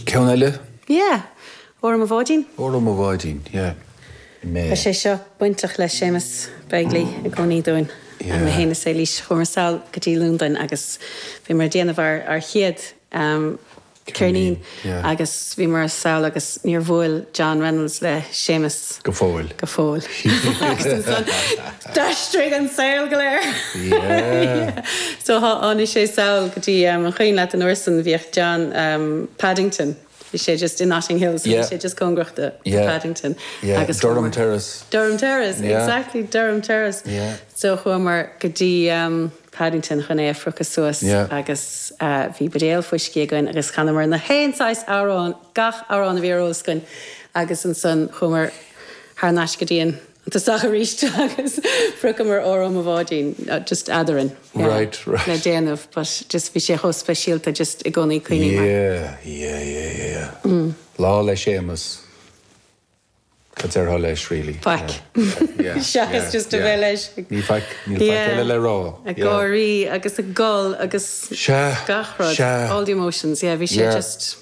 Ceann eile? Yeah. Óró Mo Bháidín. Óró Mo Bháidín, yeah. Tá sé seo bainteach le Séamus Begley i gcónaí dúinn. Yeah. Mé féin is Éilís, chuamar sall go dtí Londain agus bhíomar ag déanamh ár ár chéad ceirnín agus bhíomar sall agus níor bhuail John Reynolds le Séamus. Go fóill. Go fóill. Agus ansan d'aistrigh an saol go léir. Yeah. So tháinig sé sall go dtí an cuimhin leat an uair san bhíodh John Paddington. Bhí sé just in Notting Hill, so bhí sé just cóngarach do Paddington. Agus Durham Terrace. Durham Terrace, exactly, Durham Terrace. So chuamar go dtí Paddington chun é a phriocadh suas agus bhí buidéal fuiscí againn agus chanamar na haon saghas amhrán, gach amhrán a bhí ar eolas againn agus ansan chuamar thar n-ais go dtí an tosach arís agus phriocamar Óró Mo Bháidín just eadrainn Right, right. le déanamh but just bhí sé chomh speisialta just i gcónaí cuimhním air. Yeah, yeah, yeah, yeah. Lá le Séamus. Cad déarfá leis really? Faic. Yeah, Seachas just a bheith leis. Ní faic, níl faic eile le rá. Ag gáirí agus ag gol agus Sea, gach rud. sea. All the emotions, yeah, bhí sé just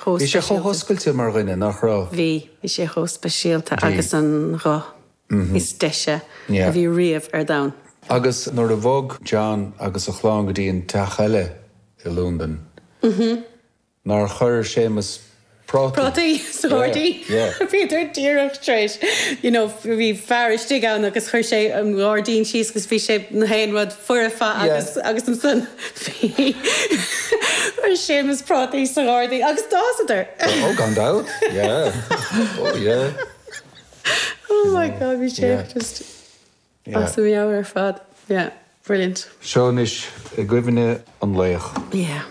chomh Bhí sé chomh speisialta. hoscailte mar dhuine, nach raibh? Bhí, bhí sé chomh speisialta agus an ghuth is deise Yeah. a bhí riamh ar domhan. Agus nuair a bhog John agus a chlann go dtí an teach eile i Londain, nár chuir Séamus prátaí. Prátaí sa ghairdín. Bhíodar díreach tar éis, you know, bhí fear istigh ann agus chuir sé an gairdín síos agus bhí sé na haon rud foirfe agus agus ansan bhí chuir Séamus prátaí sa ghairdín agus d'fhásadar. Oh, gan dabht, yeah. Oh, yeah. Oh my God, bhí sé just as a mheabhair ar fad. Yeah, brilliant. Seo anois i gcuimhne an laoch. Yeah.